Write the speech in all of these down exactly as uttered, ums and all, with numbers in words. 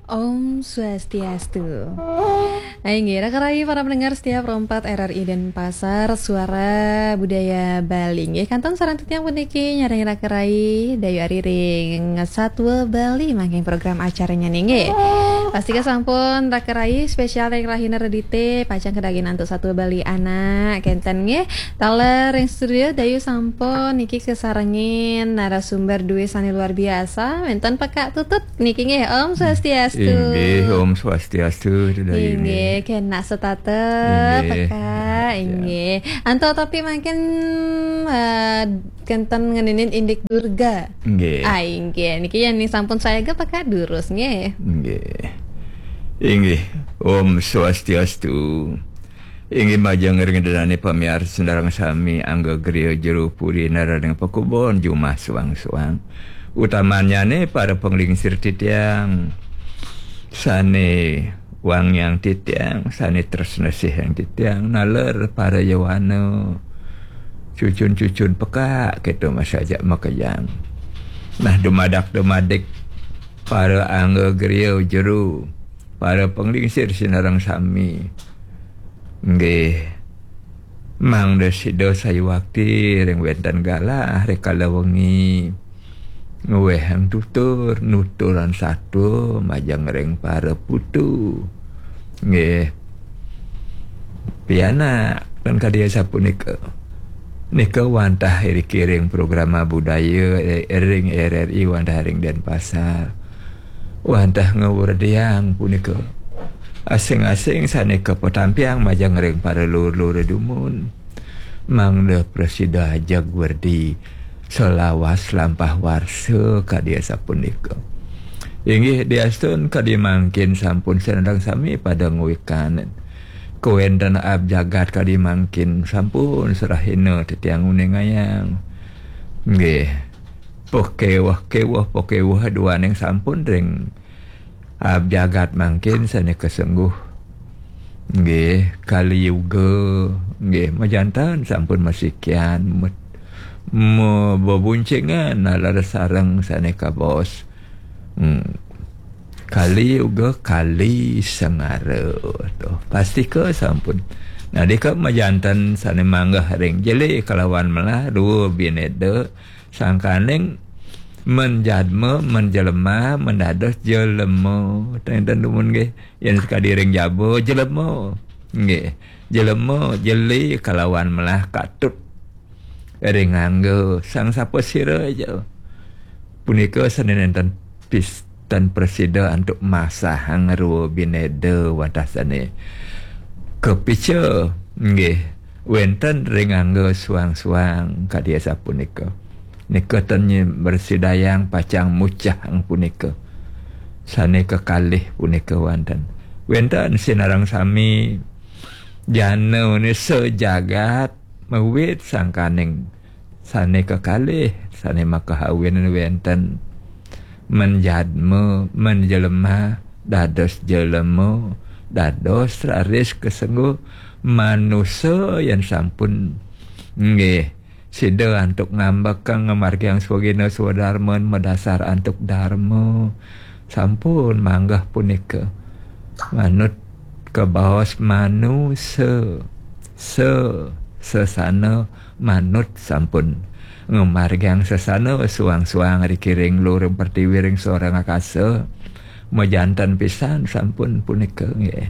Om Swastiastu. Inggih, raka rayi para pendengar setia Pro empat R R I Denpasar, Suara Budaya Bali. Inggih, kantun sareng titiang puniki nyarengin raka rayi Dayu Ari ring Satwa Bali mangkin program acaranya nggih. Pastika sampun raka rayi spesial ring rahina Redite, pacang kadagingin antuk Satwa Bali anak, kenten nggih. Taler ring studio Dayu sampun niki kasarengin narasumber duwe sane luar biasa, wenten Pekak Tutut niki nggih. Om Swastiastu. Inggih, Om Swastiastu, Dayu Inggih, nggih. Kenak setata, Inggih. Pekak, Ya. Inggih. Antuk topi mangkin, eh, kenten ngeninin indik Durga. Nggih. Ah, inggih. Niki yen sampun sayaga Pekak durus nggih. Nggih. Inggih. Om Swastiastu. Inggih majeng ring dané pamiarsa sareng sami, angga griya jero puri naraning pakubon jumah suang-suang. Utamanyane para panglingsir titiang sane wangiang titiang, sane tresna sihang titiang, naler para yowana, cucun-cucun Pekak, keto masajak makejang. Nah, dumadak-dumadik para angga griya jero, para panglingsir sinareng sami. Nggih. Mangda sida sayuwakti ring wenten galah rikala wengi. Ngwehang tutur, nuturan satua majeng ring para putu. Nggih. Pianak, ten kadi sapunika. Nika wantah iriki ring programa budaya, eh, ring R R I wantah ring Denpasar. Wantah ngawrdiang punika. Asing-asing sane kapatampiang majeng ring para lur-lur dumun. Mangda prasida ajeg werdi salawas lampah warsa kadi sapunika. Inggih diastun kadi mangkin sampun sinareng sami pada nguikan. Kawenten abjagat kadi mangkin sampun serahina titiang nguningayang. Nggih. Pakeweh-keweh, pakeweh duaning sampun ring abjagat mangkin sane kasengguh. Nggih, Kali Yuga, nggih, majanten sampun masikian, met-, me-, bebuncingan nalar sareng sane kabaos. Hmm. Kali Yuga, Kali Sengara. Tuh, pastika sampun. Nah, dika majanten sane manggeh ring jele kalawan melah, dua bineda, sangkaning menjadma, menjelema, mendados jelema. Ten-ten dumun nggih. Yen sakadi ring jaba, jelema. Nggih. Jelema, jeli kalawan melah katut. Ring angga sang sapa sira aja. Punika sane nenten pis-, ten prasida antuk masahang rua bineda wantah sane kapica. Nggih. Wenten ring angga suang-suang kadi sapunika. Nika ten nye-, mrasidayang pacang mucahang punika. Sane kekalih punika wenten. Wenten sinareng sami jana ne sajagat mawit sangkaning sane kekalih, sane makahawin wenten. Menjadma, menjelema, dados jelema, dados raris kasengguh manusa yen sampun. Nggih. Sida antuk ngambekang ngamargiang swagina swadarman madasar antuk darma. Sampun manggeh punika. Manut kabaos manusa. Sa, sesana manut sampun. Ngamargiang sesana suang-suang riki ring luring pertiwi ring soring akasa. Majanten pisan sampun punika nggih.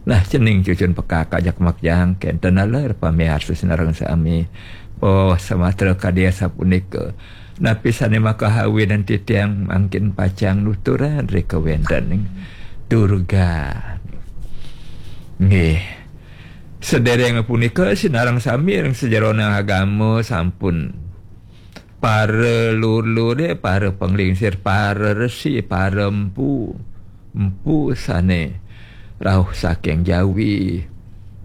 Nah, cening cucun Pekak ajak makejang kenten naler pamiarsa sinareng sami. Oh, samatra kadi sapunika. Napi sane makahawinan titiang mangkin pacang nuturan ri kawentening Durga. Nggih. Sedereng punika sinareng sami ring sajeroning agama sampun para lur-lure, para panglingsir, para resi, para empu, empu sane rauh saking Jawi.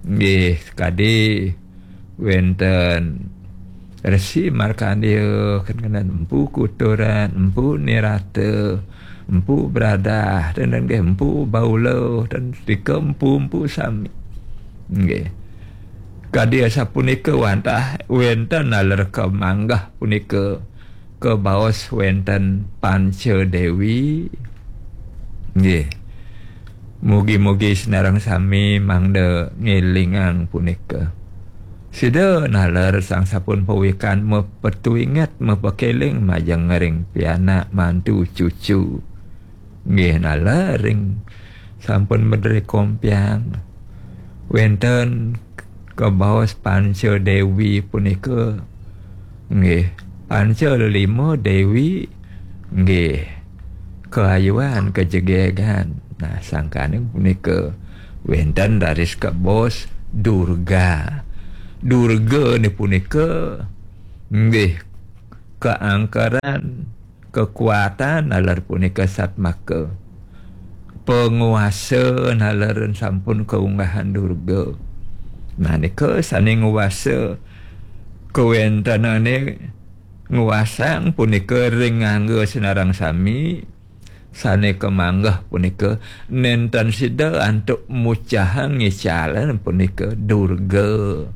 Nggih, kadi wenten Resi Markandeya, kenten Empu Kuturan, Empu Nirata, Empu Bradah, ten nggih Empu Baula, ten nika empu-empu sami. Nggih. Kadi asapunika wantah wenten naler kamanggeh punika kabaos wenten Panca Dewi. Nggih. Mugi-mugi sinareng sami mangda ngelingang punika. Sida naler sang sampun pawikan mapetuinget, mapakeling majeng ring pianak mantu cucu. Nggih, naler ring sampun medre kompiang. Wenten kabaos panca dewi punika. Nggih, panca lelima dewi. Nggih, kaayuan kajegegan. Nah, sangkane punika wenten raris kabaos Durga. Durga ni punika nggih kaangkaran kekuatan naler punika satmaka. Penguasa naler sampun kaunggahan Durga. Nah, nika sane nguasa kawentenane nguasang punika ring ngangga sinareng sami, sane kamanggeh punika nenten sida antuk mucahang ngicalan punika Durga.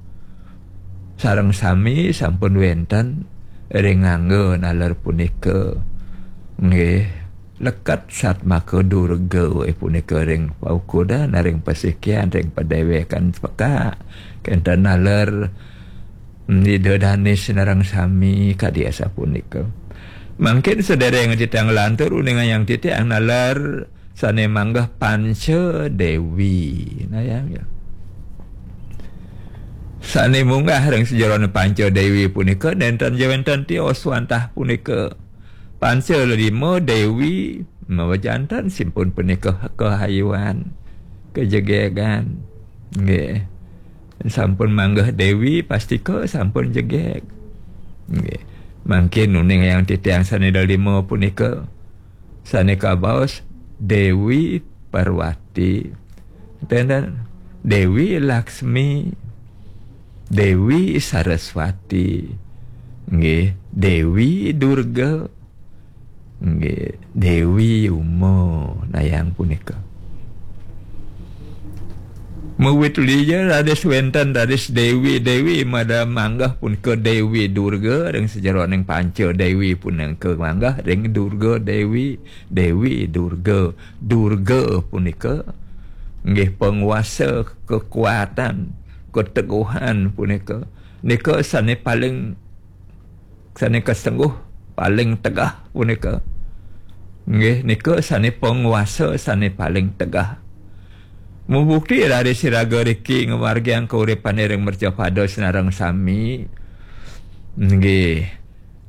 Sareng sami sampun wenten ring ngangga naler punika. Nggih, leket satmaka Durga, eh, punika ring paukudan, ring pasikian, ring padewekan pekak. Kenten naler, mm, Ida Dane sinareng sami kadi asapunika. Mangkin sedereng titiang nglantur uningayang titiang naler sane manggeh panca dewi. Nah, ya, ya. Sane munggah ring sajeroning panca dewi punika nenten ja wenten tios wantah punika. Panca lelima dewi mawajanten simpun punika kahayuan, kajegegan. Nggih. Sampun manggeh dewi, pastika sampun jegeg. Nggih. Mangkin uningayang titiang sane lelima punika, sane kabaos Dewi Parwati. Tenten Dewi Laksmi, Dewi Saraswati, nggih, Dewi Durga, nggih, Dewi Uma, nayang punika. Mawit lija raris wenten raris Dewi, Dewi mada manggeh punika Dewi Durga, ring sajeroning panca Dewi punika manggeh ring Durga Dewi, Dewi Durga. Durga punika nggih penguasa, kekuatan, keteguhan punika. Nika sane paling, sane kasengguh, paling tegah punika. Nggih, nika sane penguasa sane paling tegah. Mubukti raris iraga riki ngamargiang kauripane ring mercapada sinareng sami. Nggih.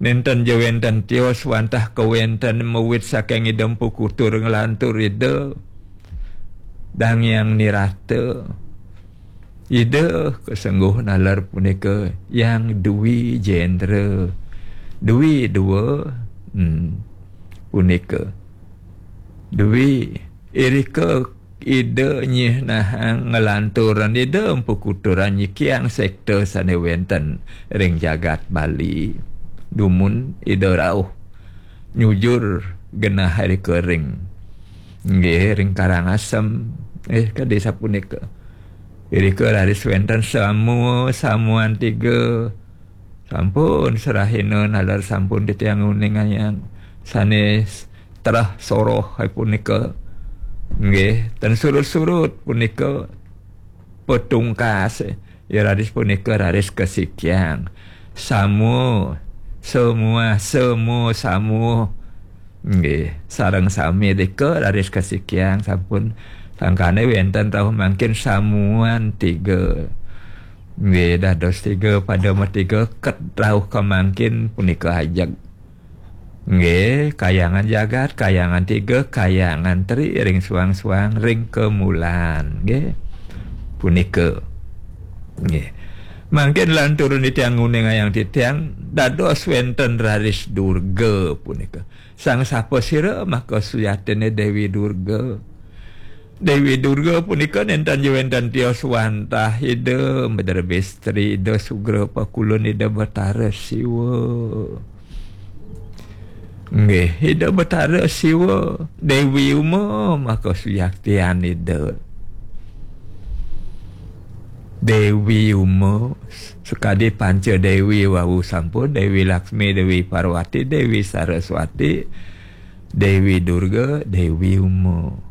Nenten ja wenten tios wantah kawenten mawit saking Ida Empu Kutur nglantur Ida Dang Hyang Nirata. Ida kasengguh naler punika Hyang Dwi Jendra. Dwi dua, hmm, punika. Dwi irika Ida nyihnahang nglanturan Ida Empu Kutur nyikiang sekta sane wenten ring jagat Bali. Dumun Ida rauh nyujur genah irika ring, nggih, ring Karangasem. Eh, kadi sapunika. Irika raris wenten samua, samuan tiga. Sampun serahina nalar sampun titiang nguningayang sane terah soroh punika. Nggih, ten surut-surut punika petungkas. Ya, raris punika raris kasikiang. Samu, semua, semu, samu. Nggih, sareng sami rika raris kasikiang sampun. Sangkane wenten rauh mangkin samuan tiga. Nggih, dados tiga pada matiga ket rauh kamangkin punika ajeg. Nggih, kayangan jagat, kayangan tiga, kayangan tri ring suang-suang ring kemulan. Nggih. Punika. Nggih. Mangkin lanturun titiang nguningayang titiang dados wenten raris Durga punika. Sang sapa sira maka sujatine Dewi Durga. Dewi Durga punika nenten ja wenten tios wantah Ida Madarbestri, Ida Sugra Pakulun, Ida Batara Siwa. Nggih, Ida Batara Siwa, Dewi Uma maka sujatian Ida. Dewi Uma, sakadi panca dewi wau sampun, Dewi Laksmi, Dewi Parwati, Dewi Saraswati, Dewi Durga, Dewi Uma.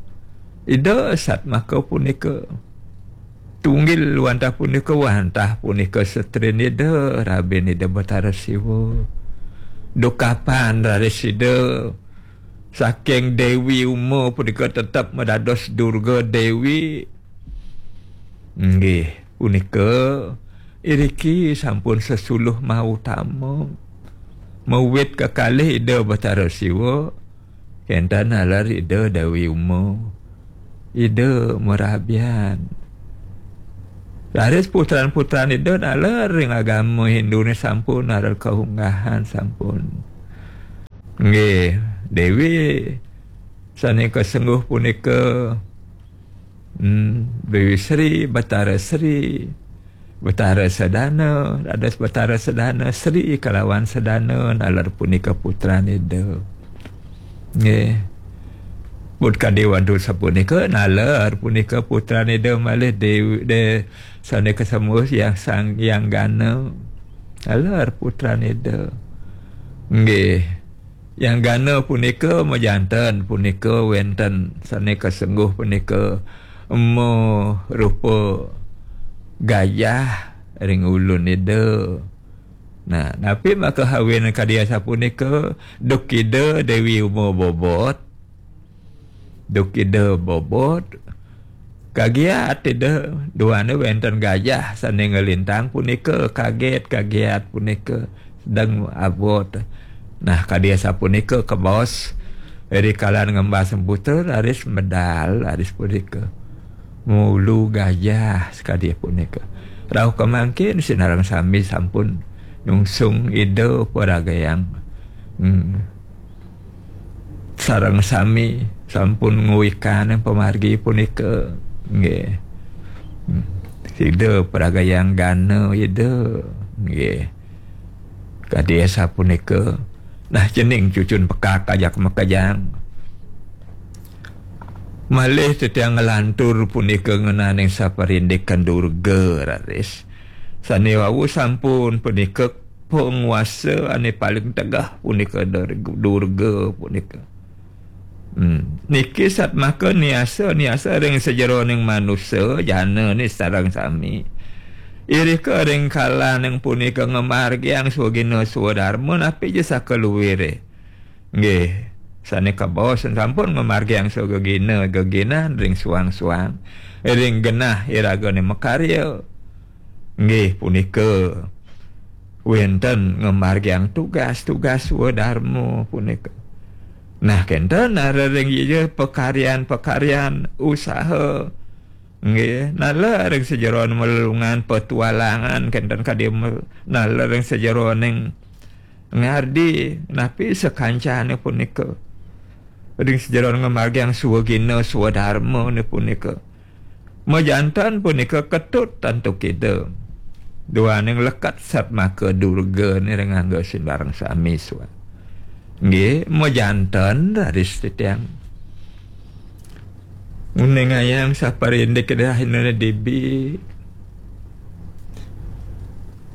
Ida satmaka punika tunggil wantah punika, wantah punika setrin Ida, rabin Ida Batara Siwa. Dukapan raris Ida saking Dewi Uma punika tetep madados Durga Dewi. Nggih, punika iriki sampun sesuluh mautama. Mawit kekalih Ida Batara Siwa, kenten naler Ida Dewi Uma. Ida marabian. Raris putran-putran Ida naler ring agama Hindune sampun naler kaunggahan sampun. Nggih, Dewi sane kasengguh punika, hmm, Dewi Sri, Batara Sri, Batara Sedana, dados Batara Sedana, Sri kalawan Sedana, naler punika putran Ida. Nggih. Pun kadi wantah sapunika, naler punika putran Ida malih Dewi, de, sane kasembuh Yang Sang Yang Gana. Naler putran Ida. Nggih. Yang Gana punika majanten punika wenten sane kasengguh punika marupa gajah ring ulun Ida. Nah, napi makawin kadi asapunika? Duk Ida Dewi Uma bobot. Duk Ida bobot. Kagiat Ida, duane wenten gajah sane nglintang punika, kaget, kagiat punika sedeng abot. Nah, kadi asapunika kabaos rikala ngembas putra, raris medal, raris punika. Mulu gajah sakadi punika. Rauh kamangkin sinareng sami sampun nyungsung Ida paragayang. Hmm. Sareng sami sampun nguwikan pamargi punika. Nggih. Hmm. Ida paragayang gana Ida. Nggih. Kadi asapunika. Nah, cening cucun pekak ajak makejang. Malih titiang nglantur punika ngenaning saparindikan Durga, raris. Sane wau sampun punika panguasa ane paling tegeh punika Dur-, Durga punika. Hmm. Niki satmaka niasa, niasa ring sajeroning manusa, jana ni sareng sami. Irika ring kalaning punika ngamargiang swagina swadarma, napi ja sakaluwire. Nggih, sane kabaos sampun ngamargiang swagina, geginan ring suang-suang. Ring genah iragane makarya. Nggih, punika wenten ngamargiang tugas-tugas swadarma punika. Nah, kenten naler ring iya pakaryan-pakaryan usaha. Nggih, naler ring sajeroning malelungan petualangan, kenten kadi mel-, naler ring sajeroning ngardi napi sakancane punika. Ring sajeroning ngamargiang swagina swadarmane punika. Majanten punika ketut antuk Ida. Duaning leket satmaka Durga ring angga sinareng sami swa. Nggih, majanten raris titiang nguningayang saparindik dahinane dibi.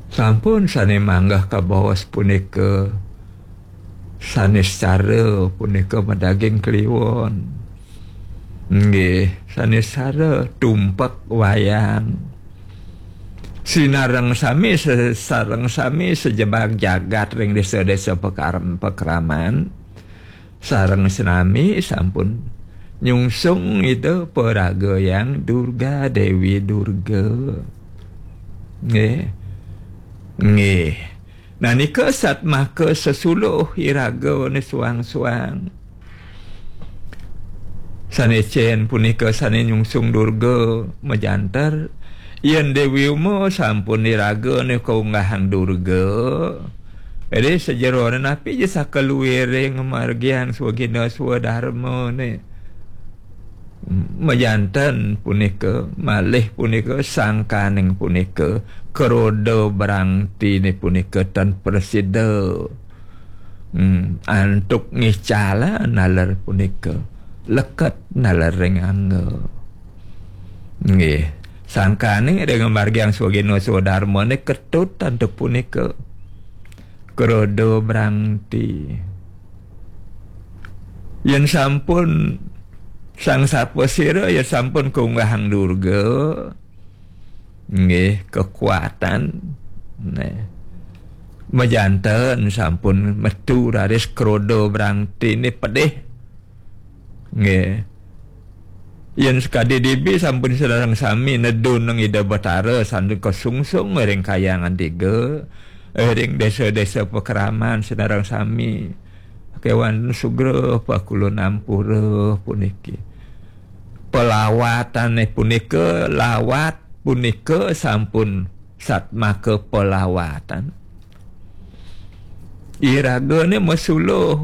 Sampun sane manggeh kabaos punika, sane secara punika madaging kliwon. Nggih, sane secara tumpek wayang. Sinareng sami se-, sareng sami sajebag jagat ring desa-desa pekaram-, pekraman. Sareng senami sampun nyungsung Ida paraga Yang Durga, Dewi Durga. Nggih. Nggih. Nah, nika satmaka sesuluh iragane suang-suang. Sane cen punika sane nyungsung Durga majanten. Yen Dewi Uma sampun iragane kaunggahang Durga. Ri sajerone napi ja sakaluwire ngamargiang swagina swadarmane. Majanten punika, malih punika sangkaning punika, kroda brangtine punika tan prasida. Hmm, antuk ngicala naler punika, leket naler ring angga. Nggih, sangkane ring ngamargiang swagina swadarmane ketut antuk punika. Kroda brangti. Yen sampun Sang Sapasira ya sampun kaunggahang durga. Nggih, kekuatan. Nah. Majanten sampun metu raris kroda brangtine pedih. Nggih. Yen sakadi dibi sampun sareng sami nedunang Ida Batara sandika sungsung ring Kahyangan Tiga, ring desa-desa pakraman sareng sami. Kewan sugra pakulun ampura puniki. Pelawatane punika, lawat punika sampun satmaka pelawatan. Iragane masuluh